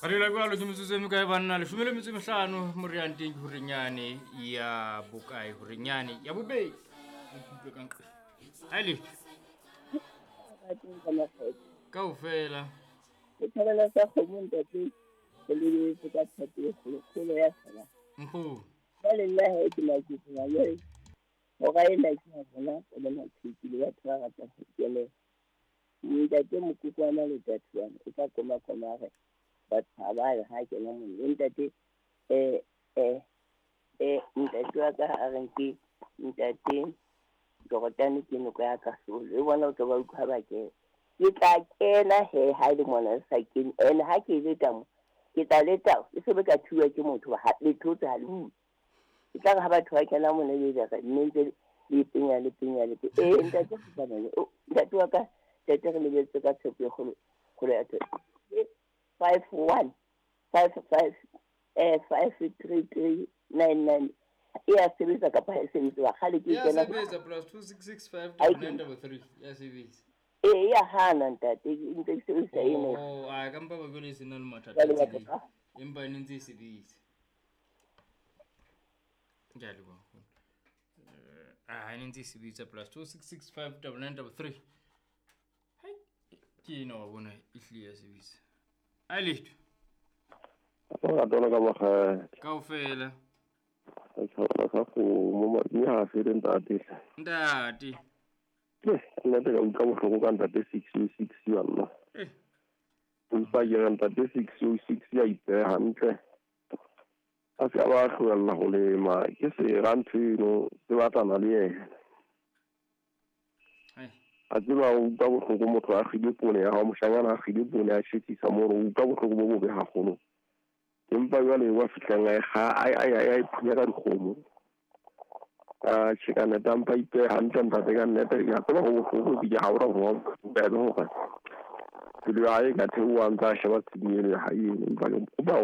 Re dula jwalo ke metsotso e mekae banna? 15 morianteng ke horenyane ya bokae? Horenyane ya bobedi. Ikutlwe ka nqe. Ha le kaofela. Ke thabela sa kgomo ntate, re lebeletse ka tshepo e kgolo-kgolo ya sala. Nkgono. Jwale nna he ke maketse jwale hora ena ke ya bona o le maqheku le batho ba ratang ho kenela. Ntate Mokokwana le Tatuane o tla koma koma re batho ha ba ye ha kena mona. Ntate ntate wa ka a reng ke ntate Jordan ke noko ya Kahlolo. E bona o tlo ba utlwa ba kena. Ke tla kena he ha ile mona le sa kene. Ene ha ke leta mo, ke tla leta e se be ka thuwa ke motho ha le thotse ha le bue. Ke tla re ha batho ba kena mona le re mme ntse le penya le penya le penya. Ntate o ntate wa ka ntate re lebetse ka tshepo e kgolo kgolo ya tshepo. 5 1 5 5 5 3 3 9 9 e a sebetsa kapa ha e sebetse ba kgale ke Ya kena sebetsa plus 2 6 6 5 9 9 3 ya sebetsa. E ya hana ntate ntse ke sebedisa ena. Oh, a ka mpa ba jwale se na le mathata Jwale a batho tseleng. ba. Empa e ne ntse e sebetsa. Ke a leboha. A ne ntse e sebetsa plus 2 6 6 5 9 9 3. Hai, ke ena wa bona e hlile ya sebetsa. A letho. Ba tona ka makgethe. Kaofela. Re tshwana ka kgomo, madi ha a fele ntate. Ntate. Nna te ka utlwa bohloko ka ntate 606 banna. Empa ke re ntate 606 ya ipeha hantle. A se ka ba tlohella ho lema, ke sera ntho eno, se batlana le yena. A tseba o utlwa bohloko motho a kgile poone ya hao, moshanyana a kgile poone a tjhesisa mono, o utlwa bohloko bo bobe haholo. Empa jwale wa fihlang a e kga, a e phunya ka dikgomo. A tjhe ka nnete, a mpa ipeha hantle ntate ka nnete, ke a tseba ho bohloko ebile ha o ra ho bobebe hore pelo ya hae e ka theoha a ntse a sheba tshenyo eno ya hae eno. Empa ke kopa hore